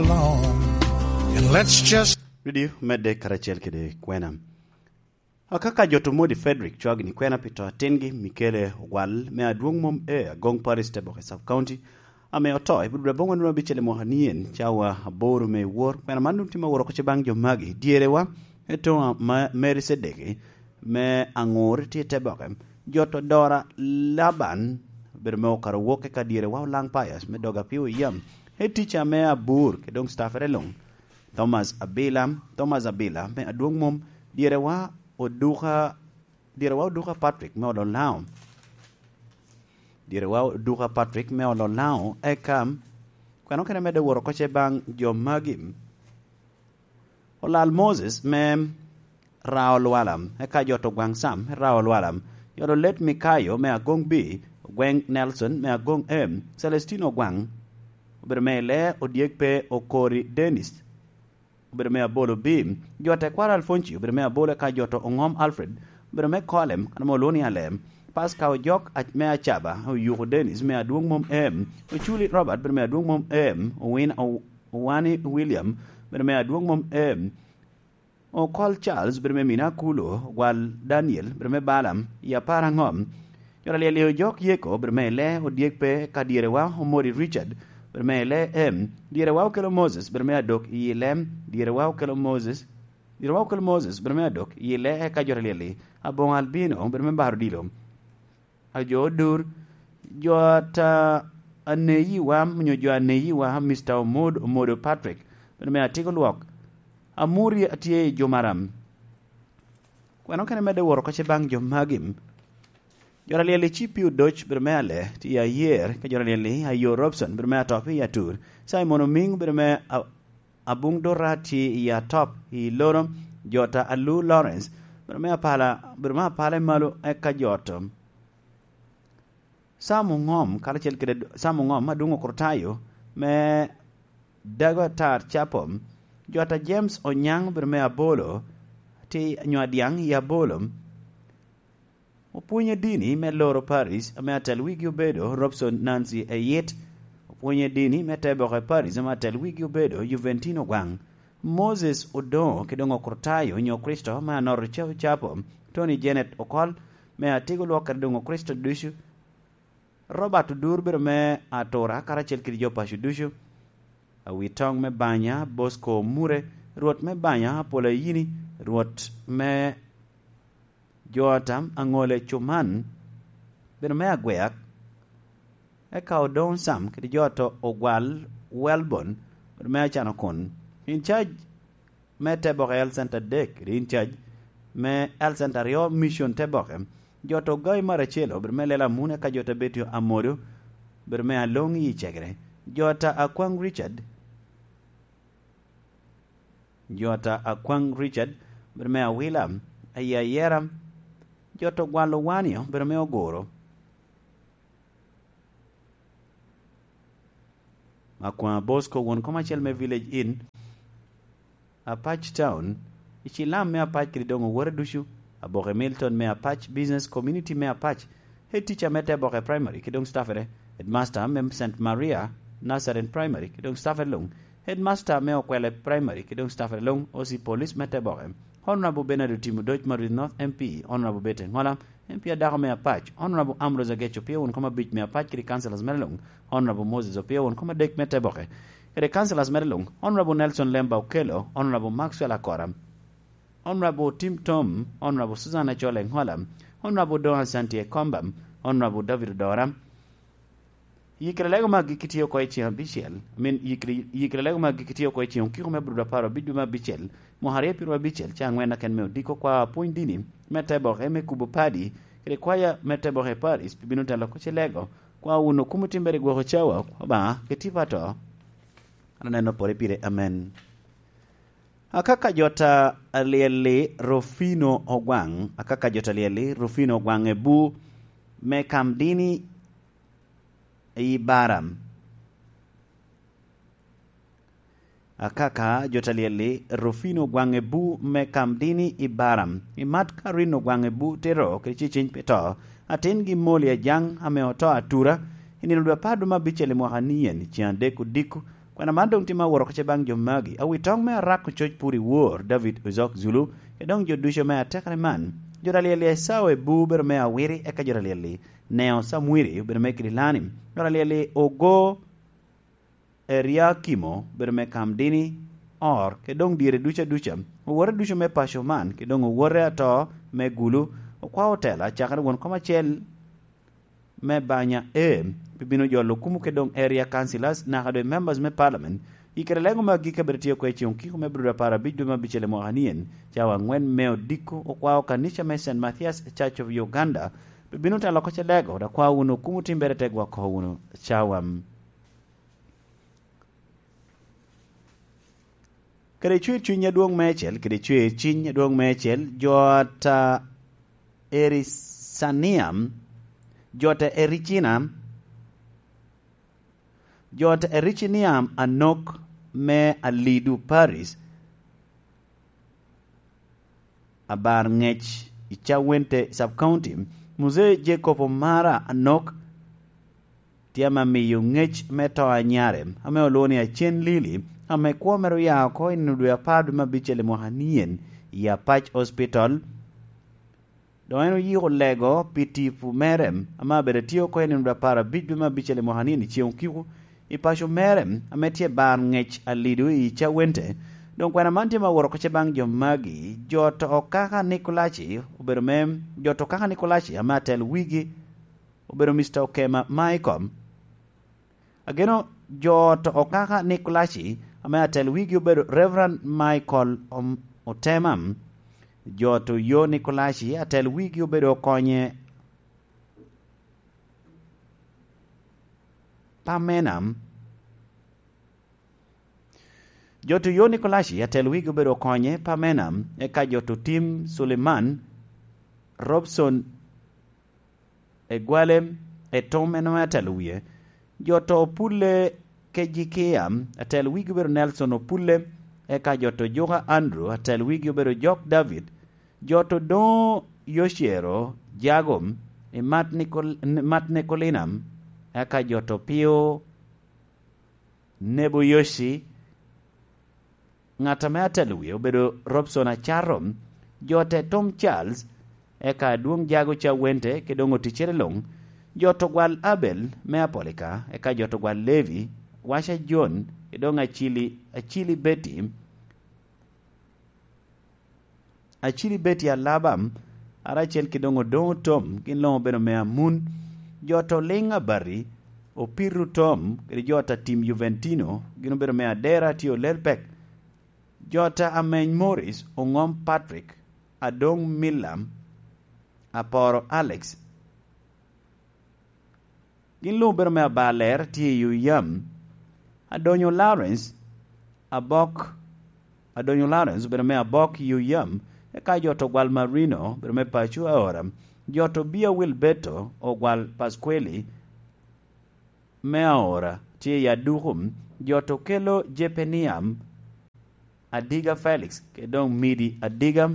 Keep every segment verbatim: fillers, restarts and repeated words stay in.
along. And let's just Redio medde karacel kede kwena. Akaka jo to Modi Frederick cwagini kwena pi to atingi Mikele Ogwal me adwoŋ mom e Agong Paris Teboke Sub County, ame oto i budura boŋo nino abicel i mwaka nien cawa aboro me wor. Kwena man dum tye ma woro koce baŋ jo magi dyerewa, eto ma Mary Sedeki me aŋur tye Teboke, jo to Dora Laban, obedo me okaro wok eka dyerewa Olaŋ Pius me doga pi oyam, etica me abur ke doŋ staffere luŋ. Thomas Abila, Thomas Abila me adwoŋ mom, dyerewa Oduka, dyerewa Oduka Patrick me Ololao, dyerewa Oduka Patrick me Ololao, eka kweno kene medde woro koce baŋ jo magi. Olal Moses me Rao Lwalam, eka jo to Gwaŋ Sam me Rao Lwalam, jo to Let Mikayo me Agoŋ B, Ogweŋ Nelson me Agoŋ M, Celestino Ogwaŋ, obedo me Ile Odyek pe Okori Dennis, obedo me abolo bim, jo a tekwaro Alfonci obedo me abolo, eka jo to Oŋom Alfred obedo me Kolem, kan ame olwoŋo ni Alem, Paska Ojok a-, me Acaba, Oyuko Dennis me adwoŋ mom em, Oculi Robert obedo me adwoŋ mom em, Owin-, O-, Owani William obedo me adwoŋ mom em, Okol Charles obedo me Mina Kulo, Ogwal Daniel obedo me Balaam, i apar aŋom, Jo a lyel i ojok Yeko, obedo me Ile Odyek pe, ka dyerewa Omori Richard, obedo me Ile M. Dyerewa Okelo Moses, obedo me Adok i Ile M. Dyerewa Okelo Moses, dyerewa Okelo Moses, obedo me Adok i Ile, eka jo a lyel i Aboŋo Albino, obedo me Baro Dilo. Ajo Odur, jo ata aneyiwa, onyo jo aneyiwa, Mister Omod, Omodo Patrick, obedo me Atiko Lwok. Amuri atye i Jumaram. Kweno kene medde woro koce baŋ jo magi? Jo a lyel i Cipi Odoc obedo me Ale, tye i Ayer, ka jo a lyel i Ayo Robson obedo me Atop i Atur, Simon Oming obedo me A-, Abuŋ Dora tye i Atop i Loro, jo ta Alu Lawrence obedo me Apala, obedo me Apala i Malo, eka jo to. Sam Oŋom, karacel kede Sam Oŋom, Adwoŋ Okrutayo, me Dago Atar Capom, jo ta James Onyaŋ obedo me Abolo, ti nyo Adyaŋ i Abolo. Opwonye dini me Loro Paris, ame atel wigi obedo Robson Nancy Eyit. Opwonye dini me Teboke Paris, ame atel wigi obedo Juventino Gwaŋ. Moses Odoŋo, ki doŋ Okrutayo, nyo Kricito, me Anoro Capo Capo, Tony Janet Okol, me Atiko Lwok, kede doŋ Okricito ducu. Robert Odur obedo me Atura, karacel kede jo paco ducu. Awitoŋ me Banya, Bosco Omure, Rwot me Banya, Apola Yini, Rwot me Joatam, Aŋole Cuman, bedo me Agweak, eka Odoŋ Sam kede jo to Ogwal Welbon, bedo me Acanokun. In cac me Teboke Health Center adek, kede in cac me Health Center aryo, Mission Teboke, jo to Gai Maracelo, bedo me Lela Mune, eka jo to Betio Amodo, bedo me Aloŋ i Cegere, jo ta Akwaŋ Richard, jo ta Akwaŋ Richard, bedo me Awila, ayi Ayera, jo to Gwalo Wanio, bedo me Ogoro. Akwaŋ Bosco, won kom acel me Village Inn, Apac Town, i Cilam me Apac kede doŋ owote ducu, Aboke Milton me Apac, Business Community me Apac, Head Teacher me Teboke Primary kede doŋ staffere, Headmaster me Saint Maria Nazarene Primary kede doŋ staffere luŋ, Headmaster me Okwele Primary kede doŋ staffere luŋ, O C Police me Teboke, Honorable Bernard Otim Odoc Marwith North M P, Honorable Betty Engola, M P adako me Apac, Honorable Ambrose Ageco, Opio won kom abic me Apac kede councillors mere luŋ, Honorable Moses Opio won kom adek me Teboke, kede councillors mere luŋ, Honorable Nelson Lemba Okello, Honorable Maxwell Akora, Honorable Tim Tom, Honorable Susan Achol Engola, Honorable Don Asante Ekomba, Honorable David Odora. Yikere lego magi kitye oko i ceng abicel, I mean, yikere, yikere lego magi kitye oko i ceng okiko me Abudo apar abic dwe me abicel, mwaka aryo pyero abicel, ca angwen aken me odiko kwa apwony dini me Teboke me kubo padi, kede kwaya me Teboke Paris, pi bino telo oko ce lego, kwa wun okumo timbere gwoko cawa, Obaŋa, keti pa to. An aneno pore pire, amen. Akaka jota alyeli Rufino Ogwaŋ, akaka jota alyeli Rufino Ogwaŋ ebu me kam dini i Baram. Akaka jota alyeli Rufino Ogwaŋ ebu me kam dini i Baram. I mat ka Rino Ogwaŋ ebu tero kede ceceny pi to, atin gi Moli Ajaŋ ame oto atura, i nino dwe apar dwe me abicel i mwaka nien, i ceng adek odiko, Kwena man doŋ tye ma aworo oko ce baŋ jo magi, awi toŋ me Arak Ococ Pur i Wor, David Ozok Zulu, kede doŋ jo ducu me atekere man. Jo ta lyel-li Esau Ebu obedo me Awiri, eka jo ta lyel-li Neo Samwiri obedo me Kidilani, jo ta lyel-li Ogo Eriakimo obedo me Kamdini, Or, kede doŋ dyere ducu aduca, owote ducu me paco man, kede doŋ owote ato me Gulu, okwao otela, cakere won kom acel me banya A, pi bino jolo kumo kede doŋ area councillors, naka doŋ members me parliament, i kare lego me agikki abed tye oko i ceŋ okiko me brudo apar abic dwe me abicel i mwaka nien, cawa angwen me odiko, okwao kanica me Saint Mathias Church of Uganda, pi bino telo oko ce lego, dok kwao wunu kumo timbere te gwoko wunu cawa. Kede cwer cuny adwoŋ meicel, kede cwer cuny adwoŋ meicel, jo ata Erisaniam, jo ata Ericina, jo ata Ericiniam Anok me Alidu Paris, abar ŋec i Cawente Sub-County, Muzee Jacob Omara Anok, tye ame miyo ŋec me to a nyare, ame olwoŋo ni Acen Lili, ame kwo mere oya oko i nino dwe apar dwe me abicel i mwaka nien i Apac Hospital. Doŋ en oyiko lego pi tipo mere, ame abedo atye oko i nino dwe apar abic dwe me abicel i mwaka nien i ceŋ okiko, i paco mere, ame tye bar ŋec Alidu i Cawente. Doŋ kwena man tye ma aworo oko ce baŋ jo magi, jo to kaka Nikolaci obedo me, jo to kaka Nikolaci ame atel wigi obedo Mister Okema Michael. Ageno jo to okaka Nikolaci ame atel wigi obedo Reverend Michael Om-, Otema. Jo to yo Nikolaci atel wigi obedo Okonye Pamena. Jo to yo Nikolaci atel wigi obedo Okonye Pamena, eka jo to tim Suleiman Robson Egwale, Etom en ame atelo wie. Jo to Opulle Kejikia, atel wigi obedo Nelson Opulle, eka jo to Juka Andrew, atel wigi obedo Jok David. Jo to Doŋo Yocero Jago, i Mat Nikol-, Mat Nikolina, eka jo to Pio Nebo Yoci, ŋat ame atelo wie obedo Robson Acato, jo te Tom Charles, eka Adwoŋ Jago Cawente, kede doŋ oticere luŋ, jo to gwal Abel me Apolika, eka jo to gwal Levi, Waca John, kede doŋ Acili, Acili Betty, Acili Betty Alaba, karacel kede doŋ Odoŋo Tom, gin luŋ obedo me Amun. Jo to Liŋ Abati, Opiru Tom, kede jo ta tim Juventino, gin obedo me Adera tye Olelpek. Jo ta Ameny Morris, Oŋom Patrick, Adoŋ Milla, Aporo Alex, gin luŋ obedo me Abaler tye i Uyam. Adonyo Lawrence, Abok, Adonyo Lawrence obedo me Abok i Uyam, eka jo to gwal Marino obedo me paco Aora. Jo to Bia Wilberto ogwal Pasqueli me Aora tye i Aduku. Jo to kelo Jepeniam Adiga Felix, kede doŋ Midi Adiga.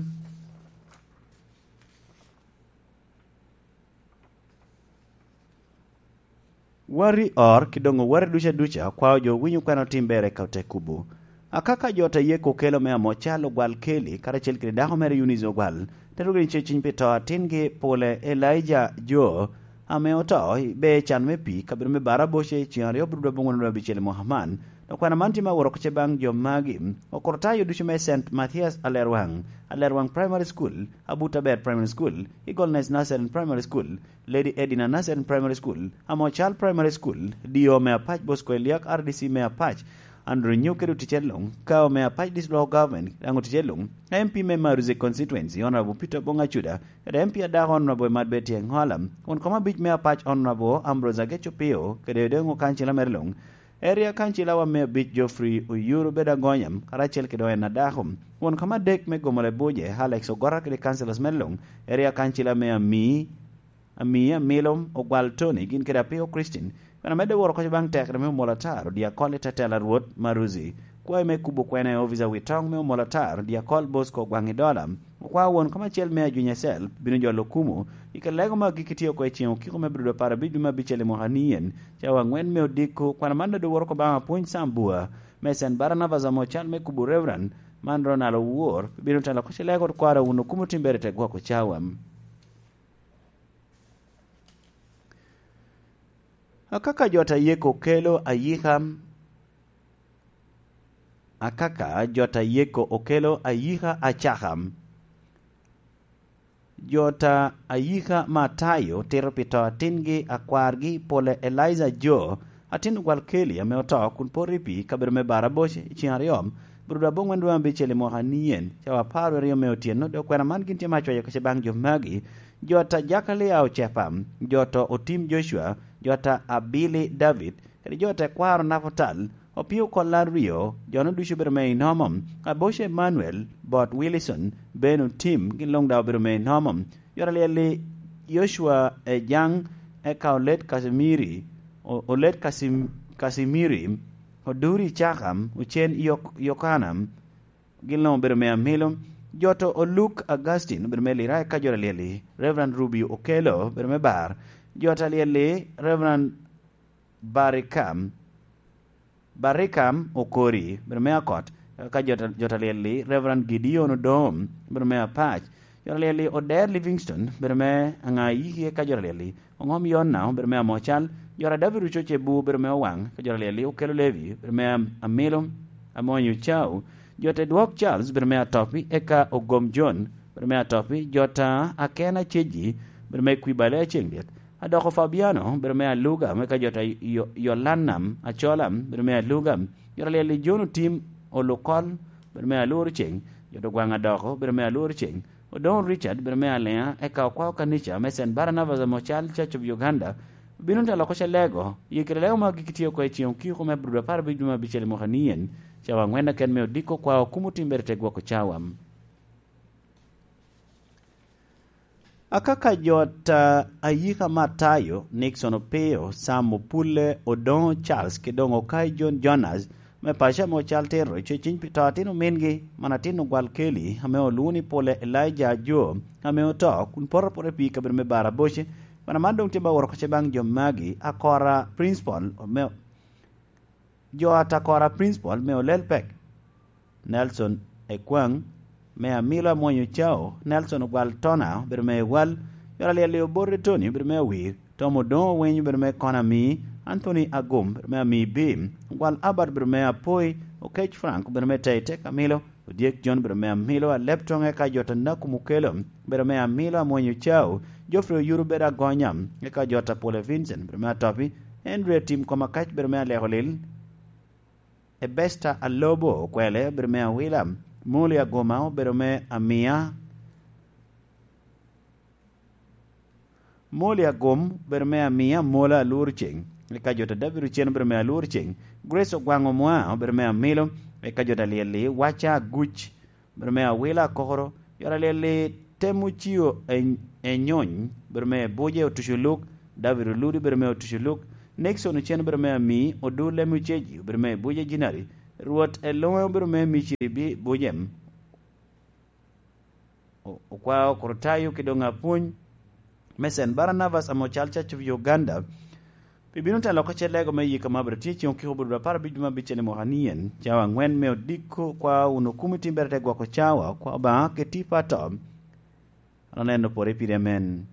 Wari or, ki doŋ owati duca duca, kwao jo winyo kwena otim ber eka ote kubo. Akaka jo ta yeko okelo me Amocal ogwal Keli, karacel kede dako mere Eunice ogwal, te rugi ni ce ciny pi to atingi pole Elijah Jo, ame oto, be can me pii, kabedo me Baraboce, ceŋ aryo bro dwe abongwen dwe abicel i mwaka man. Dok kwena man tye me aworo oko ce baŋ jo magi, okurtayo ducu me Saint Mathias Alerwaŋ, Alerwaŋ Primary School, Abuta Ber Primary School, Eagleness Nursery and Primary School, Lady Edina Nursery and Primary School, Amocal Primary School, D O me Apac Bosco Eliak, R D C me Apac, Andrew Nyok kede oticere luŋ, Kao me Apac District Local Government, daŋ oticere luŋ, M P me Maruzi Constituency, Honorable Peter Bong Acuda, kede M P adako Honorable Emad Betty Engola, won kom abic me Apac Honorable Ambrose Ageco Pio, kede odeŋo kancila mere luŋ, Area Kancilawa me abic Geoffrey Oyuru Bedo Agonya, karacel kede en adako. Won kom adek me Gomole Buje, Alex Ogora kede councillors me luŋ, Area Kancila me Ami, Ami Amilo, Ogwal Tony, gin kede Apio Christine. Kwena medde woro oko baŋ tekere me Omol Atar, Diakol i Tetela Rwot, Maruzi. Kwayo me kubo kwena i ofica Witoŋ me Omol Atar, Diakol Bosco Gwaŋi Dola. Okwao won kom acel me Ajunya Cell, bino jolo kumo, i ka lego ma agikki tye oko i ceŋ okiko me brudo apar abic dwe me abicel i mwaka nien, cawa angwen me odiko, kwena man dodo woro oko baŋ Apwony Sambua, Me Sen Barnabas ame ocal me kubo Reverend man Ronald Owor, bino telo kocele kod kwaro wun okumo timbere te gwoko cawa. Akaka jot a yeko kelo ayika, akaka jot a yeko okelo ayika acaka. Jot a ayika Matayo tito pi to atingi akwargi pole Eliza Jo, atin ogwal Keli ame oto kun poto i pii kabedo me Baraboc i ceng aryo, Bruda aboŋwen dwe abicel i mwaka anien, cawa apar aryo me otyeno, dok kwena man gin tye me acwayo kece baŋ jo magi. Jot a Jakalia Ocepa, jot a Otim Joshua, jot a Abili David, kede jot a tekwaro Naputal, opio kol aryo, jo-nu ducu obedo me Inomo, Aboco Emmanuel, bot Wilson, Ben Otim, gin luŋ daŋ obedo me Inomo. Jot a lyel-li Joshua Ejaŋ, eka Olet Kasimiri, O-, Olet Kasim-, Kasimiri, Oduri Cakam, Ocen Yok-, Yokana, gin luŋ obedo me Amilo. Jot a Oluk Augustine obedo me Lira, eka jot a lyel-li Reverend Rubio Okello obedo me Bar. Jot a lyel-li Reverend Barikam, Barikam Okori, bedo me Akot, eka jot, jot a lyel-li Reverend Gideon Odom, bedo me Apac, jot a lyel-li Oder Livingston, bedo me Aŋayiki, eka jot a lyel-li Oŋom Yona, bedo me Amocal, jot a David Ococe Bu, bedo me Owaŋ, eka jot a lyel-li Okelo Levi, bedo me Am-, Amilo, Amonyo Ocau, jot a Edwok Charles, bedo me Atopi, eka Ogom John, bedo me Atopi, jot a Akena Cejji, bedo me Kwibale Aceŋ Lyet, Adoko Fabiano, bedo me Aluga, me ka jot a Yo-, Yolanam Acola, bedo me Aluga, jot a lyel-li John Otim Olukol, bedo me Alworo Ceng, jot Ogwaŋ Adoko, bedo me Alworo Ceng, Odoŋo Richard, bedo me Alea, eka okwao kanica me Sen Barnabas ame ocal Church of Uganda, bino te loko ce lego, ye kede lego ma gik tye oko i ceŋ okiko me Abril apar abic dwe me abicel i mwaka ni en, cawa aŋwen aken me odiko kwao kumo timbere te gwoko cawa. Akaka jot a, ayika Matayo, Nixon Opiyo, Sam Opulle, Odoŋo Charles, ki doŋ Okai John Jonas, me paco ame ocal tero, co ciny pi to atin omingi, man atin ogwal Keli, ame olwoŋo ni Pole Elijah Ajo, ame oto, kun poto apota i pii kabedo me Baraboce, mana man doŋ tye ba woro kece baŋ jo magi, Akora Principal, me Jo a Takora Principal me Olel Pek, Nelson Ekwaŋ, me Amilo Amwony Ocao, Nelson Ogwal Tona, obedo me Ewal, Yot Alyel Lio Bote Tony, obedo me Awir, Tom Odoŋo Owiny, obedo me Kona Ami, Anthony Agum, obedo me Ami Bim, Ogwal Albert, obedo me Apoi, Okec Frank, obedo me Tei Tek Amilo, Odyek John, obedo me Amilo, Aleb Toŋe ka Jot Anaku Mukelo, obedo me Amilo Amwony Ocao, Geoffrey Oyuru, obedo Agonya, eka Jot Apole Vincent, obedo me Atopi, Andrew Tim Kom Akac, obedo me Aleko Lil, Ebesta Alobo Okwele, obedo me Awila, Muli Agoma, obedo me Amia, Moli Agom, obedo me Amia, Mola Alwor Ceng, eka Jot a David Ocen, obedo me Alwor Ceng, Grace Ogwaŋ Omwa, obedo me Amilo, eka Jot Alyel-li, Waca Aguc, obedo me Awila Akokoro, Jot Alyel-li, Temo Cio Eny-, Enyony, obedo me Buje Otuco Luk, David Oludi, obedo me Otuco Luk, Nixon Ocen, obedo me Ami, Odu Lemi Ocegi, obedo me Buje Jinari, Rwot Eloŋe, obedo me Miciri Bi-, Buje, O-, Okwao Kurtayo ki doŋ apwony me Sen Barnabas ame ocal Church of Uganda, pi bino telo oko ce lego me yika ma bro tye ceŋ okiko bro apar abic dwe me abicel i mwaka ni en, cawa aŋwen me odiko, kwa wun okumo i timbere te gwoko cawa, kwa Obaŋa keti pa to. An aneno pore pire, amen.